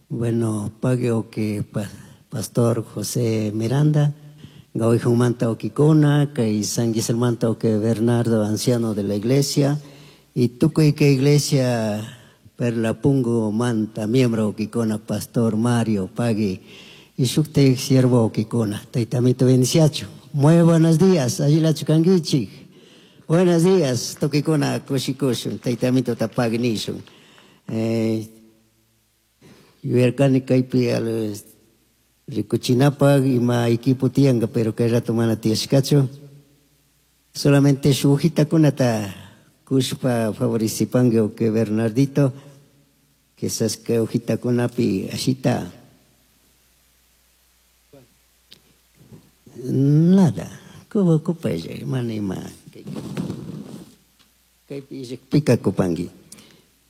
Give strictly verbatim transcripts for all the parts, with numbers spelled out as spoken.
Bueno, pagui que Pastor José Miranda, Manta Oquicona, kay San Manta que Bernardo, anciano de la iglesia, y tukuy que iglesia Perla Pungo Manta, miembro Oquicona, Pastor Mario, pagui, y shukte siervo Oquicona, taitamito bendiciacho. Muy buenos días, allilachu kanguichik. Buenos días, tukikuna kushikushun, taitamito tapagui nishun. Eh, yuyarkani kaypi rikuchinapaq ima equipo tiyanka, pero kay rato mana tiyashkachu. Solamente shuk hojitakunata kushpa favorecipanki que Bernardito, quizás kay hojitakunapi ashita. Nada, kuba kupaylla, mana ima. Kaypi pika kupanki.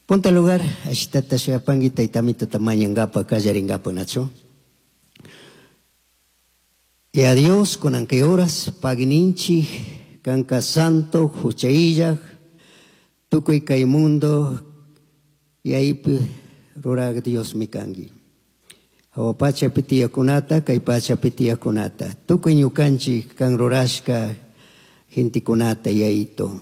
Punta lugar, ashitata shuyapanki taytamito tamañangapa kallaringapa nachu. Y a Dios con anque horas pagninchi kanka santo huchaillaj tukuy kay mundo y ahí rurag Dios mikangi. Hawa pacha pitiyakunata kay pacha pitiyakunata tukuy ñukanchik kan rurashka gentikunata yaito.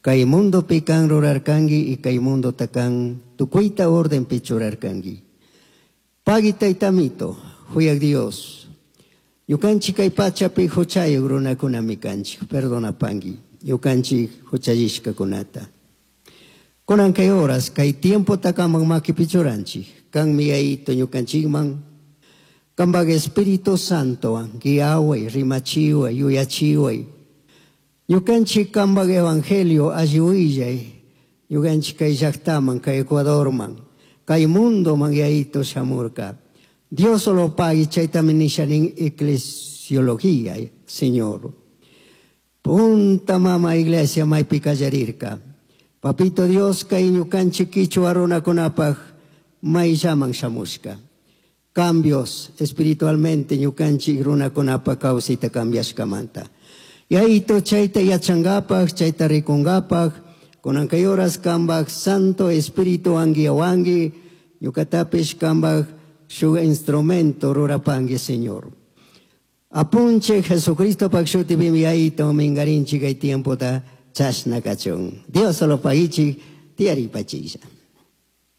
Kay mundo pi kan rurarkangi y kay mundo takan tukuyta orden pi churarkangi. Pagui taytamito, huyag Dios. Ñukanchik kay pachapi huchayuq runakunami kanchik, perdonapanki, ñukanchik huchallishkakunata. Kunan kay horas, kay tiempo takaman makipi churanchik, kanmi yayito ñukanchikman, kanpak Espíritu Santowan, guiaway, rimachiway, yuyachiway. Ñukanchik kanpak Evangelio alli willay, ñukanchik kay llaqtaman, kay Ecuadorman, kay mundoman yayito shamurka. Dios solo pagui, chaytami nisha nin eclesiología, Señor. Punta mama iglesia maypi kallarirka. Papito Dios kay ñukanchik kichwa runakunapaq mayllaman shamushka. Cambios espiritualmente ñukanchik runakunapaq kawsayta cambiashkamanta. Yayito chayta yachankapaq, chayta rikunkapaq, kunan kay horas kanpak Santo Espíritu anguiawanki, ñukatapish kanpak shuk instrumento rurapanki, Señor. Apunche Jesucristo pak shutipimi yayito minkarinchik kay tiempota chashna kachun. Dios solo pagichik, tiyaripachilla.